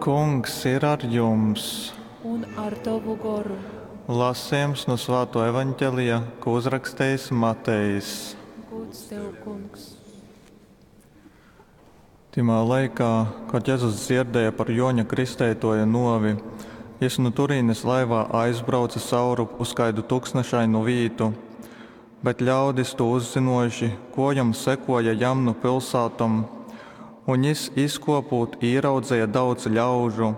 Kungs ir ar jums! Un ar tovu goru. Lasejums nu Svātō Evaņgelija, kū uzrakstejis Matejs. Gūds tev, Kungs. Tymā laikā, kod Jezus dzierdēja par Jōņa Kristeitōja nōvi, jys nu turīnes laivā aizbrauce savrup uz kaidu tuksnešainu vītu. Bet ļaudis, tū uzzynōjuši, kōjom sekōja jam nu pilsātom. Un jys, izkōpūt, īraudzeja daudz ļaužu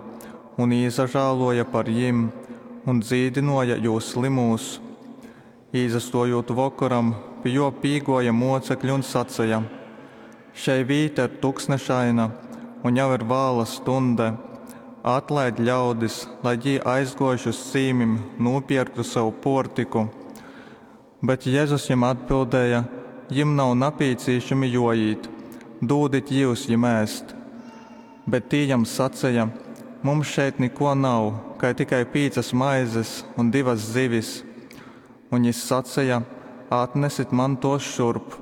un īsažālōja par jim un dzīdynōja jūs slymūs. Īsastōjūt vokoram, pi jō pīgōja mōcekļi un saceja, Šei vīta ir tuksnešaina, un jau ir vāla stuņde. Atlaid ļaudis, lai jī, aizgōjuši uz cīmim, nūpierktu sev pōrtyku. Bet Jezus jim atbildēja, Jim nav napīcīšami jōīt, dūdit jyus jim ēst. Bet tī jam saceja, Mums šeit nikō nav, kai tikai pīcas maizes un divas zivis. Un jys saceja, Atnesit man tōs šurp.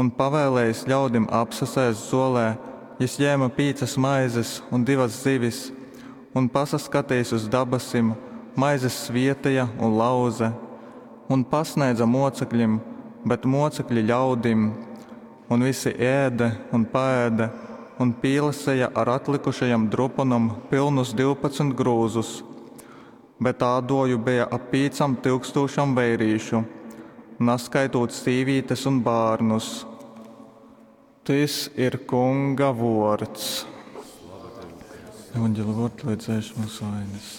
Un, pavēlējis ļaudim apsasēst zōlē, jys jēme pīcas maizes un divas zivis, un, pasaskatejis uz dabasim, maizes svēteja un lauze, un pasnēdze mōceklim, bet mōcekļi ļaudim. Un visi ēde un paēde, un pīlaseja ar atlykušajom druponom pylnus 12 grūzus. Bet ādōju beja ap pīcom tyukstūšom veirīšu, naskaitūt sīvītes un bārnus. Tys ir Kunga vōrds. Evangeļa vōrdi, lai dzēš mūsu vainas.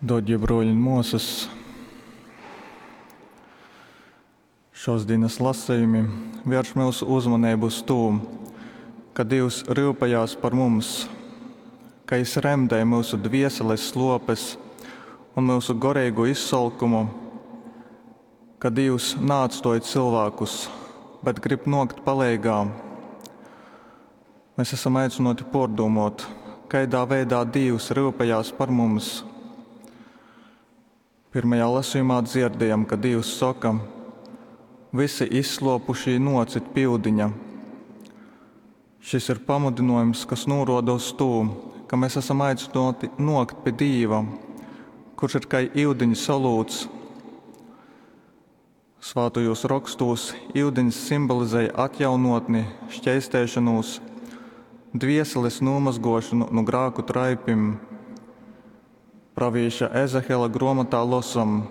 Dārgie broļi un māsas, šos dienas lasījumi vērš mūsu uzmanību uz to, ka Dievs rūpējās par mums, ka Jis remdē mūsu dvieseles slopes un mūsu garīgo izsalkumu, ka Dievs neatstoj cilvēkus, bet grib nokt paleigā. Mēs esam aicināti pārdomāt, kādā veidā Dievs rūpējās par mums. Pirmajā lasījumā dzirdējam, ka Dievs saka: Visi izslopušī nocit pi ūdiņa. Šis ir pamudinājums, kas norāda uz to, ka mēs esam aicināti nokt pie Dieva, kurš ir kā ūdeņa solūts. Svātajos rakstos ūdens simbolizēja atjaunotni, šķeistēšanos, dvieseles nomazgošanu no grāku traipim. Pravīša Ezehela grāmatā losam: